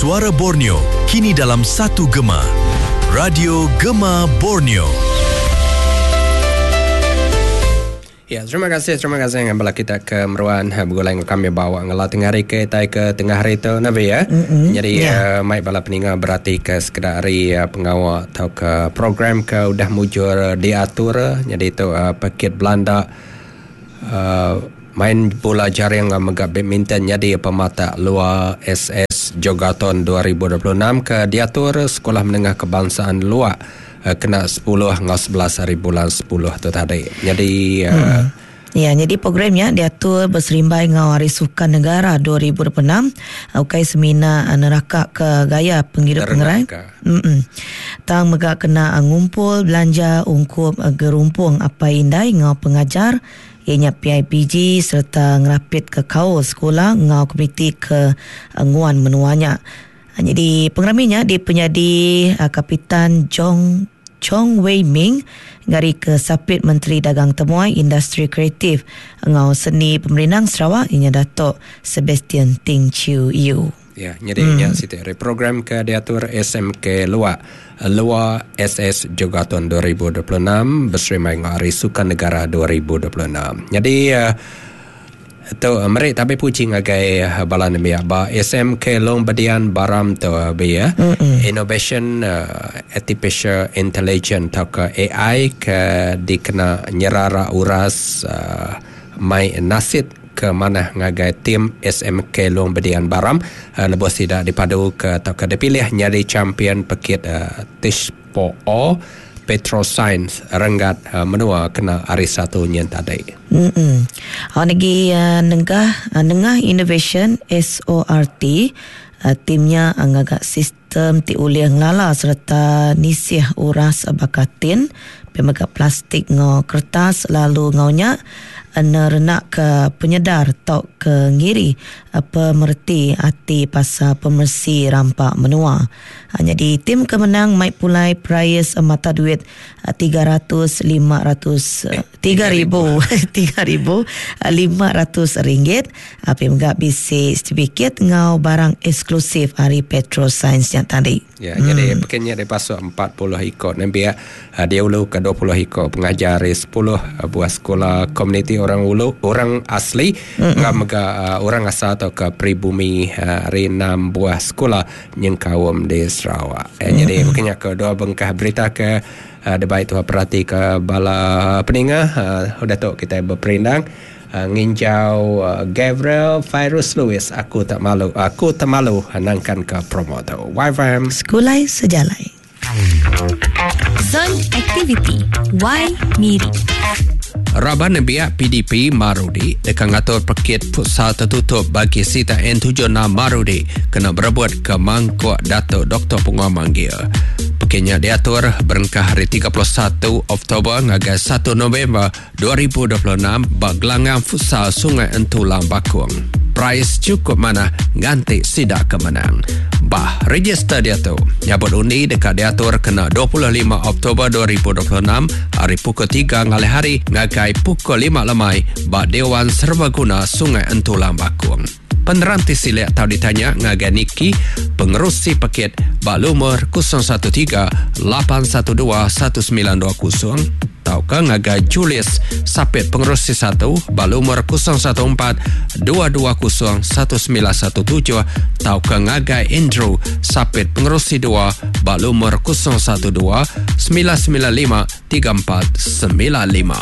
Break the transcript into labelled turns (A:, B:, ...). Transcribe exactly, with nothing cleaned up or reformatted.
A: Suara Borneo kini dalam satu gema. Radio Gema Borneo.
B: Ya, terima kasih, terima kasih yang bala kita ke Meruan begulai kami bawa ngelah tengah hari ke tai ke tengah hari tu nabi ya. Mm-hmm. Jadi yeah. uh, mai bala peninga berarti ke sekedar hari uh, pengawal atau ke program ke udah mujur diatur. Jadi tu uh, paket Belanda uh, main bola jaring megak badminton jadi pemata luar S S Jogathon dua ribu dua puluh enam ke diatur Sekolah Menengah Kebangsaan Luak kena sepuluh ngau sebelas hari bulan sepuluh tu tadi. Jadi hmm. uh,
C: ya, jadi programnya diatur berserimbai ngau Hari Sukan Negara dua ribu dua puluh enam. Ukai semina neraka ke gaya penghidup pengerai. Mm-mm. Tang mega kena ngumpul belanja ungkup gerumpung apa indai ngau pengajar ianya P I P G serta ngerapit ke kaul sekolah ngau komuniti ke nguan menuanya. Jadi pengeraminya di penyadi Kapitan Jong Chong Wei Ming ngari ke Sapit Menteri Dagang Temuai Industri Kreatif ngau Seni Pemerintah Sarawak ianya Datuk Sebastian Ting Chiu Yu.
B: Ya, jadi hmm. nya siti program ke diatur S M K Luak Luak S S Jogathon dua ribu dua puluh enam bersama dengan Hari Sukan Negara dua ribu dua puluh enam. Jadi uh, tu merik tapi puji ngagai bala nembiak ba S M K Long Bedian Baram tu be ya. Innovation uh, Artificial Intelligence atau ke A I ke dikena nyerara uras uh, mai nasit ke mana ngagai tim S M K Long Bedian Baram uh, lebuh sida dipadu ke atau ke dipilih nyadi champion pekit uh, Tishpo O Petroscience renggat uh, menua kena hari satu nyen tadi.
C: Hmm. Oh lagi uh, nengah uh, nengah Innovation S O R T uh, timnya uh, ngagak sistem ti ulih ngelala serta nisih uras bakatin pemegak plastik ngau kertas lalu ngaunya nerenak ke penyedar tok ke ngiri pemerti ati pasal pemersi rampak menua. Jadi tim kemenang mai pulai prize mata duit tiga ratus lima ratus tiga ribu tiga ribu lima ratus ringgit. Api megak bisi sertifikat ngau barang eksklusif hari Petroscience yang tadi.
B: Ya, hmm. Jadi pekannya dia pasuk empat puluh ikut nembiak dia ulu ke dua puluh ikut pengajar sepuluh buah sekolah komuniti orang ulu orang asli mm-hmm. mega uh, orang asal atau ke pribumi hari uh, enam buah sekolah nyengkawam di Sarawak. Eh, mm-hmm. Jadi makanya ke dua bengkah berita ke uh, debai tu perhati ke bala peninga uh, udah tu kita berperindang uh, nginjau uh, Gabriel Fairuz Louis aku tak malu aku tak malu nangkan ke promo tu. Y F M
C: Sekulai Sejalai.
D: Zon Activity Y Miri.
B: Raban Nembiak P D P Marudi dekat ngatur pekit futsal tertutup bagi Sita N tujuh enam Marudi kena berebut ke mangkuk Datuk Doktor Punga Manggil. Pekitnya diatur berengkah hari tiga puluh satu Oktober ngagai satu November dua ribu dua puluh enam bak gelanggang futsal Sungai Entulang Bakung. Prize cukup mana ganti sidak kemenang. Bah, register dia tu. Nyabut undi dekat diatur kena dua puluh lima Oktober dua ribu dua puluh enam hari pukul tiga ngalih hari ngagai pukul lima lemai bak Dewan Serbaguna Sungai Entulang Bakung. Peneranti silik tau ditanya ngagai Niki pengerusi paket bak lumur kosong satu tiga lapan satu dua satu sembilan dua kosong tau ke ngagai Julius Sapit pengerusi satu bak lumur kosong satu empat dua dua kosong satu sembilan satu tujuh tau ke ngagai Andrew Sapit pengerusi dua bak lumur kosong satu dua sembilan sembilan lima tiga empat sembilan lima.